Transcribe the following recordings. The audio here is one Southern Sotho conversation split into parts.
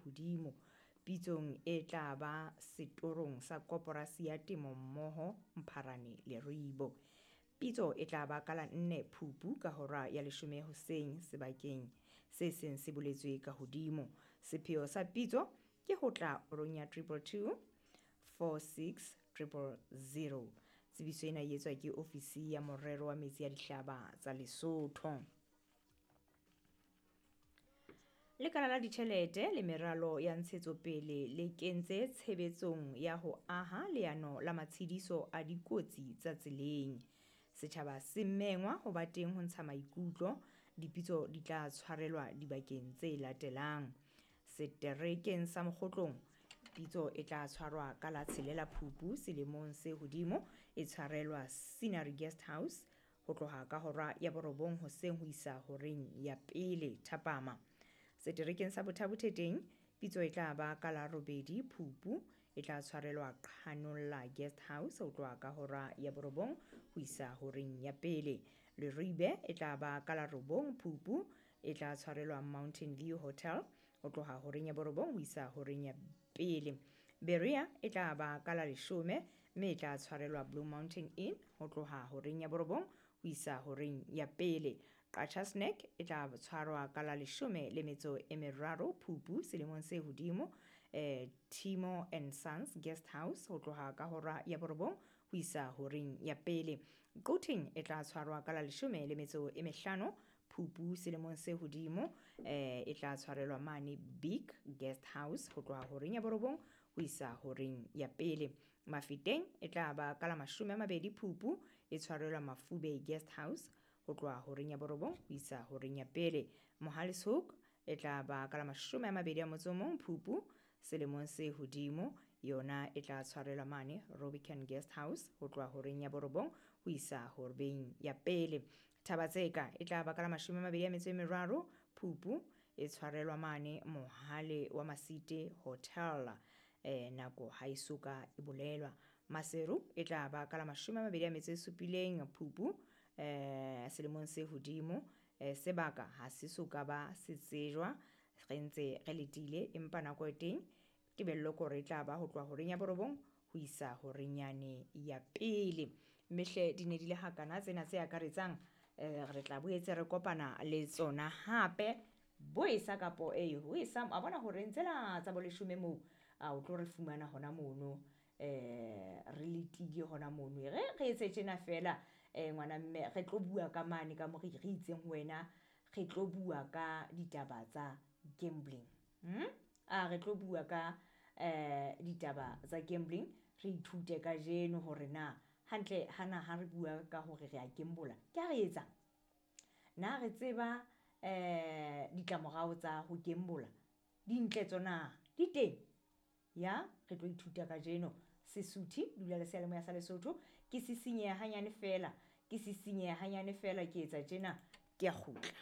hodimo. Pitsong e tla ba setorong sa Koporasi ya Temo Mmoho Mpharane Leribo. Pitso e tla ba ka la 4 Phupu ka hora ya 10 hoseng sebakeng se seng se boletswe ka hodimo. Sepheo sa pitso ke ho tla ronya 222 46 000. Tsebiso ena e etswa ke ofisi ya morero wa metsi ya dihlaba tsa Lesotho. Lekala la ditjhelete le meralo ya ntshetsopele le kentse tshebetsong ya ho aha leano la matshediso a dikotsi tsa tseleng. Setjhaba se mengwa ho ba teng ho ntsha maikutlo. Dipitso di tla tshwarelwa dibakeng tse latelang. Seterekeng sa Mokgotlong, pitso e tla tshwarwa ka la 6 Phupu selemong se hodimo, e tshwarelwa Scenery Guest House ho tloha ka hora ya 9 hoseng ho isa horeng ya 1 thapama. Seterekeng sa Bothabotheteng, pitso e tla ba ka la 8 Phupu, e tla tshwarelwa Qhanolla Guest House ho tloha ka hora ya 9 ho isa horeng ya 1. Leribe e tla ba ka la 9 Phupu, e tla tshwarelwa Mountain View Hotel ho tloha horeng ya 9 ho isa horeng ya 1. Berea e tla ba ka la 10 mme e tla tshwarelwa Blue Mountain Inn ho tloha horeng ya 9 ho isa horeng ya 1. Qacha's Nek e tla tshwarwa ka la 13 Phupu selemong se hodimo, Timo and Sons Guest House ho tloha ka hora ya 9 ho isa horeng ya 1. Quthing e tla tshwarwa ka la 15 Phupu selemong se hodimo, e tla tshwarelwa mane Big Guest House ho tloha horeng ya 9 ho isa horeng ya 1. Mafeteng e tla ba ka la 20 Phupu, e tshwarelwa Mafube Guest House ho tloha horeng ya 9 ho isa horeng ya 1. Mohale's Hoek e tla ba ka la 21 Phupu selemong se hodimo, yona e tla tshwarelwa mane Robican Guest House ho tloha horeng ya 9 ho isa horeng ya 1. Thabatseka e tla ba ka la 23 Phupu, e tshwarelwa mane Mohale wa Masite Hotel, nako ha e soka e bolelwa. Maseru e tla ba ka la 27 Phupu, selemong se hodimo, sebaka ha se soka ba se tsejwa, re ntse re letile, empa nako e teng tebello kore e tla ba ho tloha horeng ya 9 ho isa horeng yane ya 1. Mehle di ne di le hakana tsena tse akaretsang, re tla boetse re kopana le tsona hape boesa kapo ho esa a bona hore tsela tsa boleshome moo a o tlo re fumana hona mono, re letile hona mono. Re re etse tjena fela, ngwana mme re tlo bua ka mane ka mo re itseng ho wena, re tlo bua ka ditaba tsa gambling. A re tlo bua ka ditaba tsa gambling, re ithute kajeno hore na hantle hana ha re bua ka hore re a gambola, ke ha re etsang? Na re tseba ditlamorao tsa ho gambola? Dintle tsona di teng? Ya, re tlo ithuta kajeno. Sesuthi, dula le seyalemoya sa Lesotho. Ke sisinyeha hanyane fela, ke sisinyeha hanyane fela, ke etsa tjena, ke a kgutla.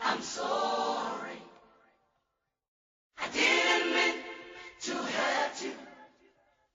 I'm so